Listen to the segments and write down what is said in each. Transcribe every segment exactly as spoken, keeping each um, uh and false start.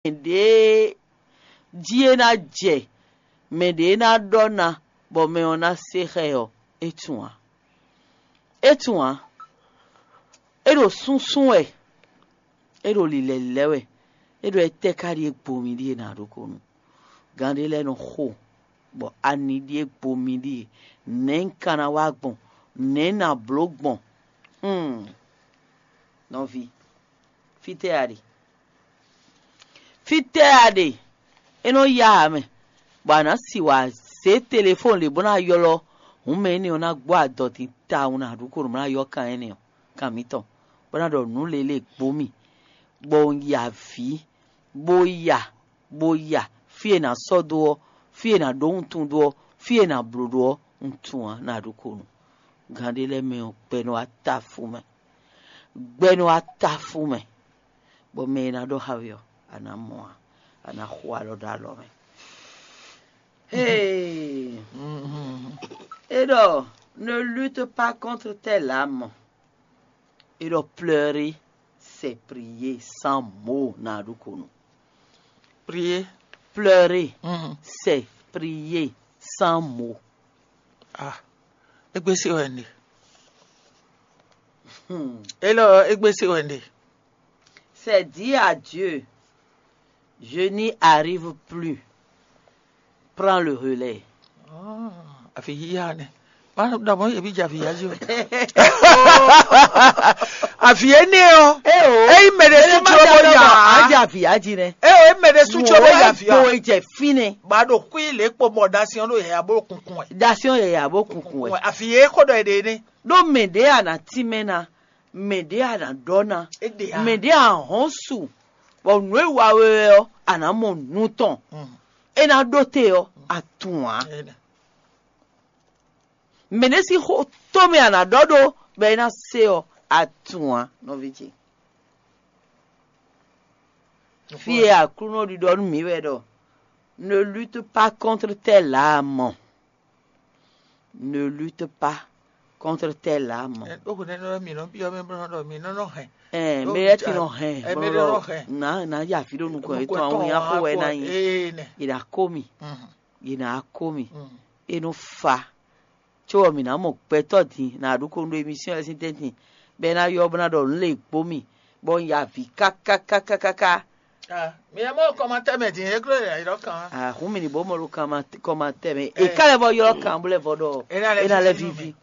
ɖěe jí é ná jɛ, mɛ ɖě ná ɖɔ ná, bɔ mɛ ɔ́ ná se xá ɛ ɔ́, é tunwun ǎ. É tunwun ǎ. É ɖo súnsún wɛ, é ɖo lǐlɛ̌lílɛ́ wɛ, é ɖo étɛ́ ka ɖíe gbo mì ɖíe ná ɖokpónú. Gǎn ɖé lɛ́ɛ nɔ xo, bɔ ani ɖíe gbo mì ɖíe. Nɛ̌ un ka ná wa gbɔn? Nɛ̌ un ná bló gbɔn? Hmm. Nɔví, fítɛ́ a ɖe? Fítɛ́ a ɖe? É nɔ yá a mɛ, bɔ a nǎ si wǎ zé telefɔ́n lě bó ná ylɔ́ hǔn mɛ énɛ́ ɔ́ ná gbɔ adɔ din tawun ná ɖu ko nǔ bó ná ylɔ́ kan énɛ́ ɔ́, kan mǐtɔn, bó ná ɖɔ nǔ lě lě gbó mì, bɔ un yi avǐ, bó ya, bó ya fí e è nǎ sɔ́ dó ɔ́, fí e è nǎ ɖó wuntun dó ɔ́, fí e è nǎ bló ɖó ɔ́, un tunwun ǎ ná ɖu ko nǔ. Gǎn ɖé lɛ́ɛ mɛ ɔ́, gbɛ nɔ wá ta fú mɛ. Gbɛ nɔ wá ta fú mɛ, bɔ mɛ e ná ɖɔ xá we ɔ́, a nǎ mɔ ǎ, a nǎ xo alɔ ɖó alɔ mɛ. Hey! É ɖɔ: ne lutte pas contre tes larmes. É ɖɔ: pleurer, c'est prier sans mot ná ɖu ko nǔ. Prier. Pleurer, c'est prier sans mot. Ah, égbé se wɛ un ɖe. Hmm. Élɔ́ égbé se wɛ un ɖe. C'est dire à Dieu, je n'y arrive plus. Prends le relais. Afi yíyá nɛ. Má ɖɔ mɔ̌ yě bí jɛ afi yá jí o. Afi énɛ́ ɔ́. Eye mɛ ɖé sú tso bó ya. Á jɛ afi yá jí nɛ. Eye mɛ ɖé sú tso bó ya afi yá. Bo jɛ fínɛ. Ba ɖo kú ilé kpo mɔ dasiɔn ɖo yɛya bó kunkun wɛ. Dasiɔn yɛya bó kunkun wɛ. Afi yé kó ɖɔ yě ɖe nɛ. Ɖó mɛ ɖě a nǎ tínmɛ ná, mɛ ɖě a nǎ ɖɔ ná, mɛ ɖě a hɔn su, bɔ nǔ e wa we wɛ ɔ́, a nǎ mɔ nǔ tɔn. É ná ɖó te ɔ́, a tunwun ǎ. Mɛ ɖé sín xó tɔn mɛ a nǎ ɖɔ ɖó bɔ é ná se ɔ́, a tunwun ǎ, nɔví ce. Fí e Aklúnɔ ɖiɖɔ nú mǐ wɛ ɖɔ: ne lutte pas contre tes larmes. Ne lutte pas contre tes larmes. Ɖó hwenu énɛ́ ɔ́, mǐ nɔ byɔ́ mɛ bó nɔ ɖɔ mǐ nɔ nɔ hɛn. Ɛɛ, mɛ lɛ́ɛ ti nɔ hɛn, bó nɔ ɖɔ nǎ nǎ ya vǐ ɖo nukɔn yětɔn, awu nyá xó wɛ ná nyí. Yě ná kó mì, yě ná kó mì. É nɔ fa. Có ɔ́, mǐ ná mɔ gbɛtɔ́ din ná ɖu ko nú émisíɔn lɛ́ɛ sín tɛ́ntin, bɔ é ná ylɔ́ bó ná ɖɔ nǔ lě gbó mì, bɔ un ya avǐ káká káká káká. Mi ɛ mɔ kɔmatɛ mɛ din, é gló yɛ ylɔ́ kan. Ahun mi ni bó mɔ ɖo kɔmatɛ mɛ. E ká lɛ vɔ ylɔ́ kan bó lɛ vɔ ɖɔ é ná lɛ vivi.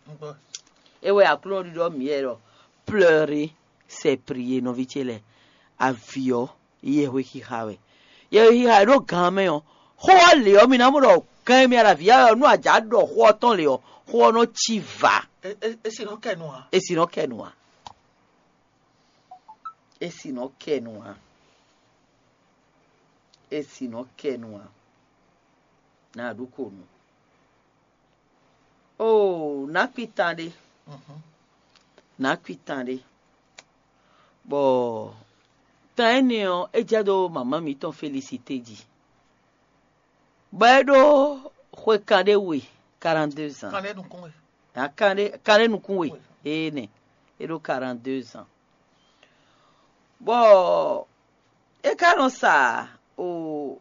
É wɛ Aklúnɔ ɖiɖɔ mǐ wɛ ɖɔ: pleurer, c'est prier, nɔví ce lɛ́ɛ. Avǐ ɔ́, yɛhwe xixa wɛ. Yɛhwe xixa e ɖo gan mɛ ɔ́, xó ɔ́ lě ɔ́, mi ná mɔ ɖɔ gan e mi ɖo avǐ ya wɛ ɔ́, nú a jǎ ɖɔ xó ɔ́ tɔn lě ɔ́, xó ɔ́ nɔ cí vǎ. É sì nɔ kɛ nu ǎ. É sì nɔ kɛ nu ǎ. É sì nɔ kɛ nu ǎ. É sì nɔ kɛ nu ǎ. Ná a ɖu ko nu. Oo, nǎ kpitan ɖé. Nǎ kpitan ɖé. Bɔ tan énɛ́ ɔ́, é jɛ dó mama mǐtɔn Felisite jí. Bɔ é ɖó xwe kanɖé we, quarante-deux ans. Kanɖé nukún we. Ǎ, kanɖé kanɖé nukún we. Énɛ́, é ɖó quarante-deux ans. Bɔ é ka nɔ sa o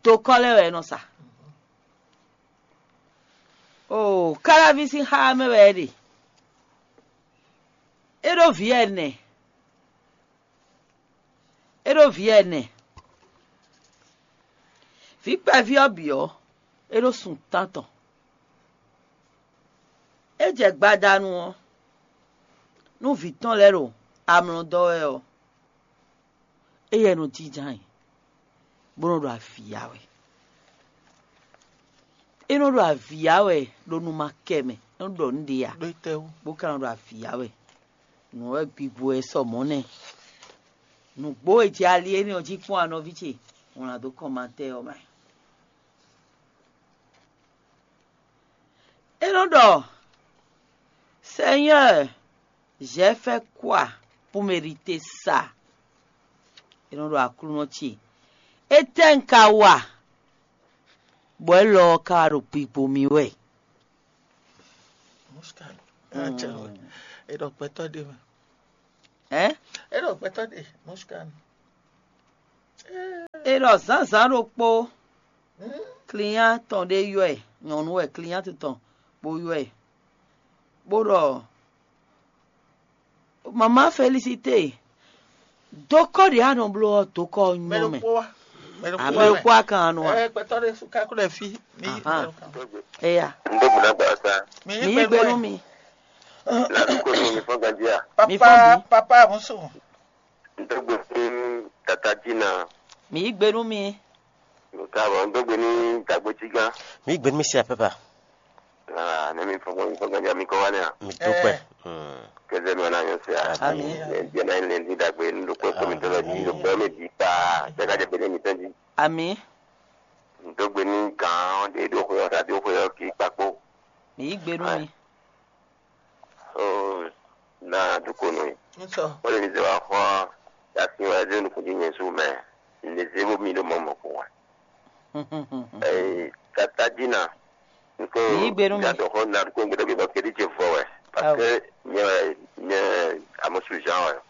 dokɔ́ lɛ́ɛ wɛ é nɔ sa. O Káláví sín xá mɛ wɛ é ɖe. É ɖó vǐ ɛnɛ. É ɖó vǐ ɛnɛ. Vǐ kpɛví ɔ́ bǐ ɔ́, é ɖó sun tántɔn. É jɛ gbadanu ɔ́, nú vǐ tɔn lɛ́ɛ ɖo amlɔ dɔ́ wɛ ɔ́, éyɛ́ nɔ jínjɔ́n ayǐ, bó nɔ ɖo avǐ ya wɛ. É nɔ ɖo avǐ ya wɛ ɖo nu ma kɛ mɛ, é nɔ ɖɔ nǔ ɖé ǎ, bó ka nɔ ɖo avǐ ya wɛ. Nǔ wɛ gbigbo wɛ sɔ mɔ̌ nɛ́. Nǔgbó e jɛ ali énɛ́ ɔ́ jí kpɔ́n anɔví ce, wlán dó kɔnmatɛ́ ɔ́ mɛ. É nɔ ɖɔ: Seigneur, j'ai fait quoi pour mériter ça? É nɔ ɖɔ: Aklúnɔ ce, étɛ́ un ka wa, bɔ élɔ́ ɔ́ ka wá ɖo gbigbo mì wɛ? É ɖɔ gbɛtɔ́ ɖé mɛ. Ɛ? É ɖɔ gbɛtɔ́ ɖé, Mɔsukanu. É ɖɔ zǎnzǎn ɖokpó, client tɔn ɖé ylɔ́ ɛ, nyɔ̌nu wɛ client tɔn bó ylɔ́ ɛ, bó ɖɔ: "Mama Félicité, dokɔ ɖě a nɔ bló ɔ́, dokɔ ɔ́ nyɔ́ mɛ." Amɛ ɖokpó a kan nɔ a? Gbɛtɔ́ ɖé ká kó lɛ fí. Mi yí Ahan. Eya, Ndé buna gbasa. Mi mi yí yí gbe nú mi. La du ko ni fɔ gandia. Mi fɔ Papa, bi. Papa musu. Ndé gbe ni tata dina. Mi yí gbe nú mi. Nka bɔ ndé gbe ni dagbe tigan. Mi gbé mi si apɛpa. Ah, ne mi fɔ mi fɔ gandia mi ko wale a. Mi dúpẹ́. Kɛzɛ mi wana yɔ se a. Ami. Ne dia na le ni dagbe ni do ko mi tolo ni do ko mi di pa. Jaga de bene mi tɛn di. Ami. Ndé gbe ni gan de do ko ta do ko ki pa ko. Mi yí gbe nú mi. Oh, na du ko nɔ yi. Ŋutɔ. Wole mi zɛ wa xɔ asi wa zɛ nukun di nyɛ su mɛ. Ne zɛ bo mi do mɔ mɔ ko wa. Eh, tata dina. Nko Yí gbe nú mi. Ya dɔ xɔ na du ko ngbe dɔ bi dɔ kedi je fɔ wɛ. Parce que nye nye amosu Jean wɛ.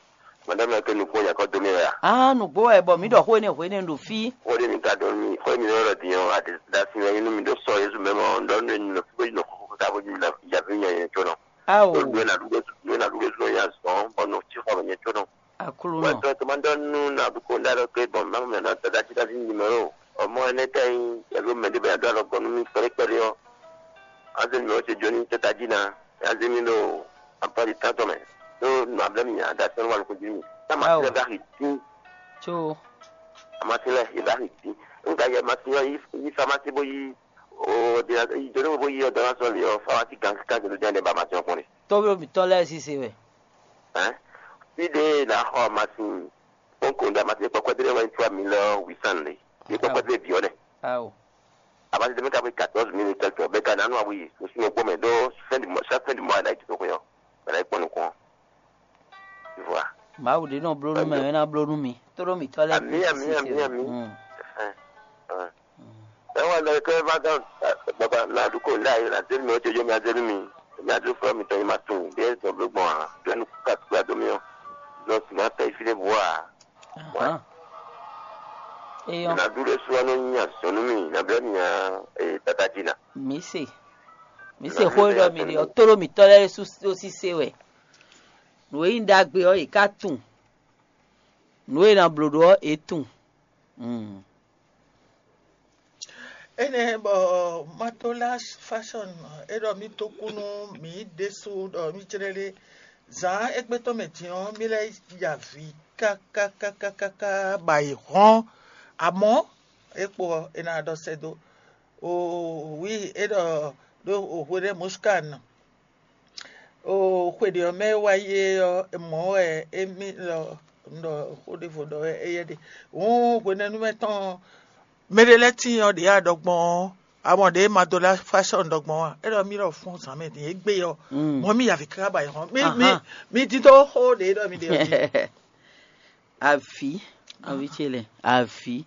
Madame ke nukun ya kɔ do mi wɛ a. Ah, nugbo wɛ bɔ mi ɖɔ xó énɛ́ hwénɛ́ ɖo fí. Xó ɖé mi ka dɔn mi xó mi lɔ ɖiɔ ade da si wɛ inú mi ɖo sɔ Yesu mɛ mɔ ɖɔ nú enu lɔ fí bó yi nɔ xó ka bó yi na yavi nya yɛ tsɔnɔ. Ao. Ɖo na ɖuɖe ɖo na ɖuɖe zɔn ya zɔn bɔ nɔ tsi xɔ mɛ nyɛ tsɔnɔ. Aklúnɔ. Wɛ tɔ tɔ ma ɖɔ nú na ɖu ko nda ɖɔ ke bɔ ma mɛ na da da ti da ti ni mɛ o. Ɔmɔ ɛnɛ tɛ nyi yɛ ló mɛ ɖé bɛ ya dɔ alɔ gbɔ nú mi kpɛɖé kpɛɖé ɔ. Azé mi ɔ se jo ní tɛ tají na. Azé mi ɖo apá ɖi tán tɔn mɛ. Ɖó nɔ ablɛ mi nya da sɛn wa lukun jí mi. Tá ma ti lɛ bá xi tín. Tso. A ma ti lɛ xi bá xi tín. N ka yɛ ma ti yɔ yí famasi bó yí o de na yi jɔ ne bó yí ɔ dɔn na sɔn li ɔ famasi gan kan jɔ dɛn ne ba ma ti ɔ kɔn ne. Tɔwé mitɔ lɛ sise wɛ. Hein? Fi de na xɔ masin. Bon ko da masin kpɔkpɔ de wɛ trois mille huit cents le. Ni kpɔkpɔ de bi ɔ ne. Awo. A ma ti de mi ka bi quatorze mille quelque bɛ ka na nu awu yi. O si o gbɔ mɛ do fin du mois, chaque fin du mois na yi to ko yɔ. Bɛ na yi kpɔn nukɔn. Tu vois. Mawu ɖe nɔ bló nú mɛ, é ná bló nú mi. Tóɖó mǐtɔn lɛ́ɛ Ami, ami, ami, ami. Ɛhɛn, ɛhɛn. Ɛ wá lɛ kɛ va gán baba na ɖu ko la yi la zeli mi o jojo mi azeli mi. Mi adu fɔ mi tɔ yi ma tun. Bɛ zɔn bló gbɔn a. Bɛ nu ka tukla do mi o. Zɔn si ma tɛ yi fi ne bu a. Ahán. Eyɔn. Na ɖu ɖe su anɔ nya zɔnu mi na bɛ nya e tata dzi na. Mi se. Mi se xó ɖɔ mi ɖe ɔ tóɖó mǐtɔn lɛ́ɛ ɖésú ɖó sísé wɛ. Nǔ e nyí ɖagbe ɔ́, yě ká tunwun. Nǔ e è nǎ bló ɖó ɔ́, yě tunwun. Mm. Énɛ́ bɔ Matola Fashion é ɖɔ mì dó kú nú mǐ ɖésú ɖɔ mì jlɛ́ ɖé. Zǎn égbé tɔn mɛ din ɔ́, mì lɛ́ ya avǐ káká káká káká bɔ ayǐ hɔ́n. Amɔ̌, é kpo ɔ́, è nǎ ɖɔ sɛ́ dó. O wǐ é ɖɔ ɖó o hwe ɖé Muskán. O xwe ɖě ɔ́ mɛ e wá yi é ɔ́, mɔ̌ wɛ émí lɔ un ɖɔ xó ɖěvo ɖɔ wɛ éyɛ́ ɖe. Hǔn hwenɛ́nu mɛ tɔn ɔ́, mɛɖé lɛ́ɛ tíin ɔ́ ɖě a ɖɔ gbɔn ɔ́, amɔ ɖě ma dó lá fásɔ́ ɖɔ gbɔn ɔ́, é ɖɔ mí ɖɔ fún zǎn mɛ din é gbé ɔ́, mɔ̌ mí yi avǐ káká ba yi hɔn. Mí mí Ahan. Mí dídó xó ɖě ɖɔ mí ɖe ɔ́ jí. Avǐ, nɔví ce lɛ, avǐ.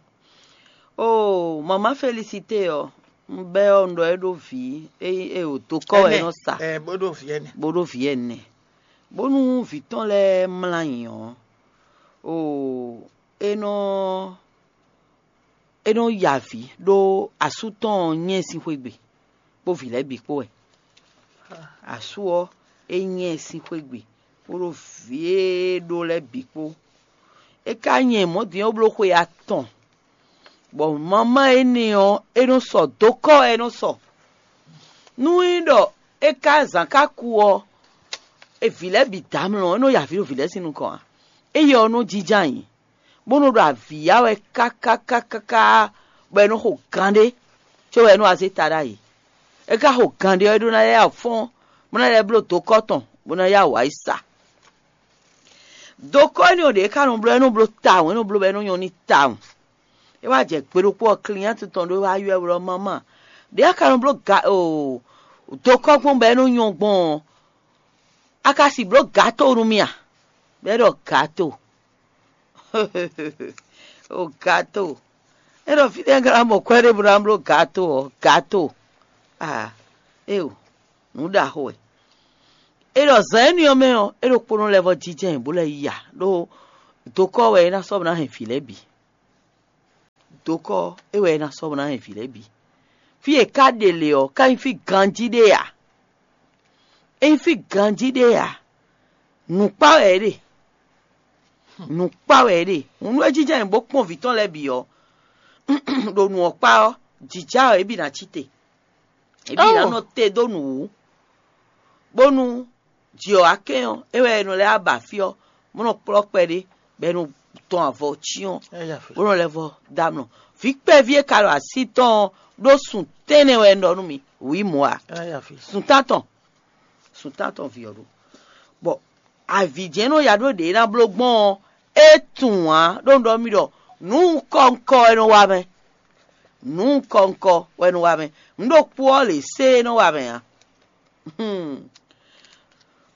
Oo, mama Félicité ɔ́, un bɛ́ ɔ́, un ɖɔ é ɖó vǐ, é é o dokɔ wɛ é Ɛnɛ, nɔ sa, ɛ, bó ɖo vǐ ɛnɛ. Bó ɖó vǐ ɛnɛ. Bónú vǐ tɔn lɛ́ɛ mlá nyi ɔ́, oo, é nɔ é nɔ ya avǐ ɖó asú tɔn ɔ́ nyɛ sín xwé gbe, kpó vǐ lɛ́ɛ bǐ kpó wɛ. Asú ɔ́, é nyɛ sín xwé gbe, bó ɖó vǐ e ɖó lɛ́ɛ bǐ kpó. É ka nyɛ mɔ̌ din ɔ́ bló xwe atɔn, bɔ mamá énɛ́ ɔ́, é nɔ sɔ dokɔ wɛ é nɔ sɔ. Nú é ɖɔ é ka zǎn ka ku ɔ́, é vǐ lɛ́ɛ bǐ dǎ mlɔ, é nɔ ya avǐ ɖo vǐ lɛ́ɛ sín nukɔn ǎ. Éyɛ́ ɔ́ nɔ jínjɔ́n ayǐ, bó nɔ ɖo avǐ ya wɛ káká káká káká, bɔ é nɔ xo gan ɖé, có wɛ é nɔ wá zé ta ɖ'ayǐ. É ka xo gan ɖé ɔ́, é ɖó ná lɛ́ ya fɔ́n, bó ná lɛ́ bló dokɔ tɔn, bó ná ya wǎ yi sa. Dokɔ énɛ́ ɔ́ ɖě é ka nɔ bló, é nɔ bló tawun, é nɔ bló bɔ é nɔ nyɔ́ n'i tawun. É wá jɛ gbe ɖokpó ɔ́, cliente tɔn ɖé wá ylɔ́ ɛ ɖɔ: "Mama, ɖě a ka nɔ bló ga o dokɔ gbɔn bɔ é nɔ nyɔ́ gbɔn ɔ́, a ka si bló gato nú mì a?" Bɔ é ɖɔ: "Gato." O gato. É ɖɔ: "Fínɛ́ un ka ná mɔ kwɛ́ ɖé bó ná bló gato ɔ́, gato." Ah, éo, nǔ ɖaxó wɛ. É ɖɔ zǎn énɛ́ ɔ́ mɛ ɔ́, é ɖokpónɔ lɛ́ vɔ́ jínjɔ́n ɛ bó lɛ́ yi a, ɖó dokɔ wɛ é ná sɔ́ bó ná hɛn vǐ lɛ́ɛ bǐ. Dokɔ é wɛ é ná sɔ́ bɔ ná nyi vǐ lɛ́ɛ bǐ. Fí e ka ɖe lě ɔ́, ka nyí fí ganjí ɖé ǎ. É nyí fí ganjí ɖé ǎ. Nǔkpá wɛ é ɖe. Nǔkpá wɛ é ɖe. Hǔn nú é jínjɔ́n ayǐ bó kpɔ́n vǐ tɔn lɛ́ɛ bǐ ɔ́, ɖo nǔ ɔ́ kpá ɔ́, jǐjá ɔ́, é bǐ ná cí te. É bǐ ná nɔ te dó nǔ wú, bónú jǐ ɔ́ wá kɛn ɔ́, é wɛ è nɔ lɛ́ wá ba fí ɔ́, bó nɔ kplɔ́ kpɛɖé, bɔ è nɔ tɔn avɔ cyɔ́n, bó nɔ lɛ́ vɔ dó amlɔ. Vǐ kpɛví e ka ɖo así tɔn ɔ́ ɖó sun tɛ́nnɛ wɛ un ɖɔ nú mi, wǐ mɔ̌ ǎ. Sun tántɔn, sun tántɔn vǐ ɔ́ ɖó. Bɔ avǐ jɛ́n nɔ ya ɖó ɖě ná bló gbɔn ɔ́, é tunwun ǎ, ɖó un ɖɔ mì ɖɔ nǔ ŋkɔ́ ŋkɔ́ wɛ nɔ wa mɛ. Nǔ ŋkɔ́ ŋkɔ́ wɛ nɔ wa mɛ. Nǔ ɖokpó ɔ́ lě sé é nɔ wa mɛ ǎ.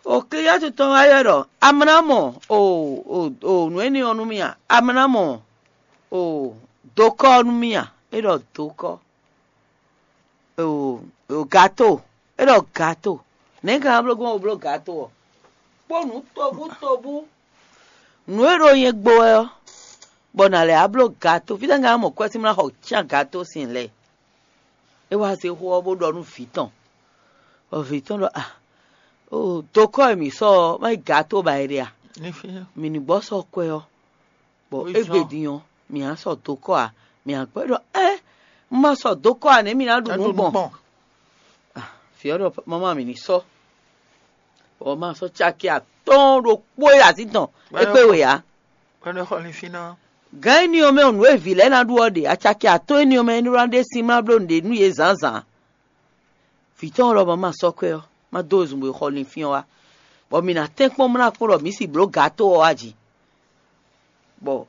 Okliyɔ́ tɔn wá ylɔ́ ɖɔ: "Amlá mɔ o, o, o nǔ énɛ́ ɔ́ nú mì a? Amlá mɔ o, dokɔ́ ɔ́ nú mì a?" É ɖɔ: "Dokɔ́." O, o gato. É ɖɔ: "Gato. Nɛ̌ ka ná bló gbɔn bó bló gato ɔ́? Kpó nǔ tobú tobú, nǔ e ɖo nyɛ gbo wɛ ɔ́, bɔ nǎ lɛ́ wá bló gato. Fítɛ́ ka ná mɔ kwɛ́ sín mlá xɔ cyán gato sín lɛ́ɛ?" É wá zé xó ɔ́ bó ɖɔ nú vǐ tɔn, bɔ vǐ tɔn ɖɔ: "A, o dokɔ́ e mǐ sɔ́ ɔ́, má nyí gato ba è ɖe a? Mǐ ní gbɔ sɔ́ kwɛ́ ɔ́, bɔ égbé din ɔ́, mǐ ná sɔ dokɔ́ a? Mǐ ná gbɔ." É ɖɔ: "Ɛ, un ma sɔ dokɔ́ a nɛ̌ mǐ ná ɖu nǔ gbɔn?" Vǐ ɔ́ ɖɔ: "Mama, mǐ ní sɔ́." Bɔ ma sɔ́ caki atɔ́ɔ́n ɖokpó e azǐn tɔn é kpé wě ǎ. Gǎn énɛ́ ɔ́ mɛ nǔ e vǐ lɛ́ɛ ná ɖu ɔ́ ɖe, acaki atɔ́ɔ́n énɛ́ ɔ́ mɛ é nɔ ná ɖe sin má bló nǔɖé nú yě zǎnzǎn. Vǐ tɔn ɔ́ lɔ ma sɔ́ kwɛ́ ɔ́, má dó wezun bo yi xɔ linfín ɔ́ wá, bɔ mi ná tɛ́nkpɔ́n mlá kpɔ́n ɖɔ mǐ si blǒ ga tó ɔ́ wá jǐ. Bɔ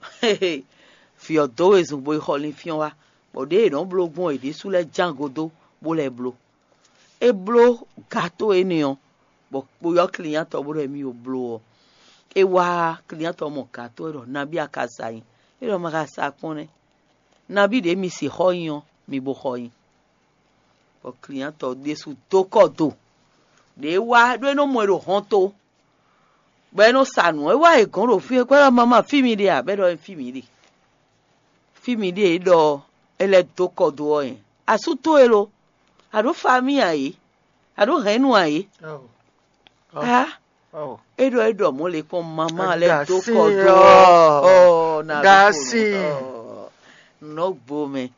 vǐ ɔ́ dó wezun bo yi xɔ linfín ɔ́ wá, bɔ ɖěe è nɔ́ bló gbɔn è ɖésú lɛ́ɛ ján go dó, bó lɛ́ bló. É bló gato énɛ́ ɔ́, bɔ kpoyɔ́ klinyátɔ bó ɖɔ émí yo bló ɔ́, é wá klinyátɔ mɔ gato é ɖɔ: "Nabí a ka sa nyi?" É ɖɔ: "Ma ka sa kpɔ́n nɛ́. Nabí ɖě mi sixɔ nyi ɔ́, mi bo xɔ nyi." Bɔ klinyátɔ ɖésú dó kɔ do, ɖě é wá ɖó é nɔ mɔ ɛ ɖo hɔnto, bɔ é nɔ sa nǔ. É wá è gɔ̌n ɖo fí é kpɛ́ ɖɔ: "Mama, fí mi ɖe a?" Bɔ é ɖɔ: "Fí mi ɖe." Fí mi ɖe e ɖɔ é lɛ́ dó kɔ do ɔ́ nyɛ. Asú towe lo? A ɖǒ famíi ǎ é? A ɖǒ hɛ̌nnu ǎ é? Á, é ɖɔ é ɖɔ mɔ̌ le kpɔ́n mamá lɛ́ɛ dó kɔ do ɔ́, ɔ́, na ɖó kpo nǔ. Nɔ̌ gbo mɛ,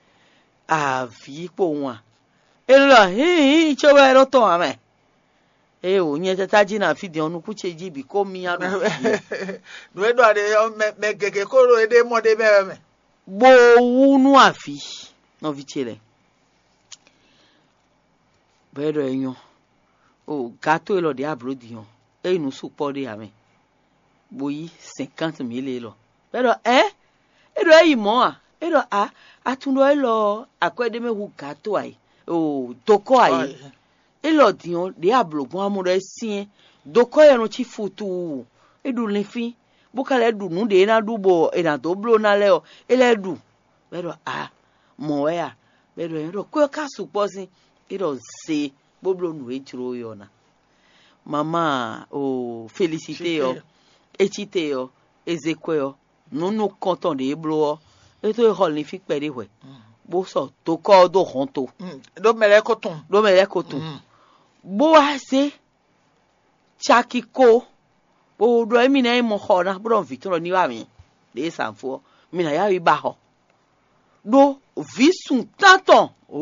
avǐ kpo wǎn. É ɖɔ hǐnhǐn cóbɔ é ɖó tɔn ǎ mɛ. Ée wǒ nyɛ tata jí na fí din ɔ́, nukún ce jí bǐ kó myá ɖo fí din. Nǔ e ɖɔ ɖe ɔ́, mɛ mɛ gěgé kó ɖo éɖée mɔ ɖ'é mɛ wɛ mɛ. Bó wú nú avǐ nɔví ce lɛ́ɛ, bɔ é ɖɔ é nyɔ́. O gato élɔ́ ɖě ablǒ din ɔ́, é nyí nǔ sukpɔ́ ɖé ǎ mɛ, bó yí cinquante mille élɔ́. Bɔ é ɖɔ ɛ, é ɖɔ é yi mɔ̌ a? É ɖɔ a, a tunwun ɖɔ élɔ́ ɔ́, akwɛ́ ɖé mɛ hu gato ǎ é, o dokɔ́ ǎ é. Élɔ́ din ɔ́, ɖě ablǒ gbɔn amɔ ɖɔ é syɛ́n, dokɔ́ yɛ nɔ cí futuu, é ɖu linfín, bó ka lɛ́ ɖu nǔ ɖě é ná ɖu bɔ è nǎ dó bló ná lɛ́ɛ ɔ́, é lɛ́ ɖu. Bɔ é ɖɔ a, mɔ̌ wɛ a? Bɔ é ɖɔ nyɛ ɖɔ kwɛ́ ɔ́ ka sukpɔ́ sín, é ɖɔ ze bó bló nǔ e jló we ɔ́ ná. Mamá o felisité ɔ́, é cí te ɔ́, é zé kwɛ́ ɔ́, nǔ nukɔntɔn ɖě é bló ɔ́, é tó é xɔ linfín kpɛɖé hwɛ̌, bó sɔ dokɔ́ ɔ́ dó hɔnto. Ɖó mɛ lɛ́ɛ ko tunwun. Ɖó mɛ lɛ́ɛ ko tunwun. Bó wá zé caki ko, bó ɖɔ émí ná yi mɔ xɔ ná, bó ɖɔ vǐ tɔn ɖɔ ní wá mǐ ɖě e zǎnfó ɔ́, mi nǎ yá yi ba xɔ. Ɖó vǐ sun tántɔn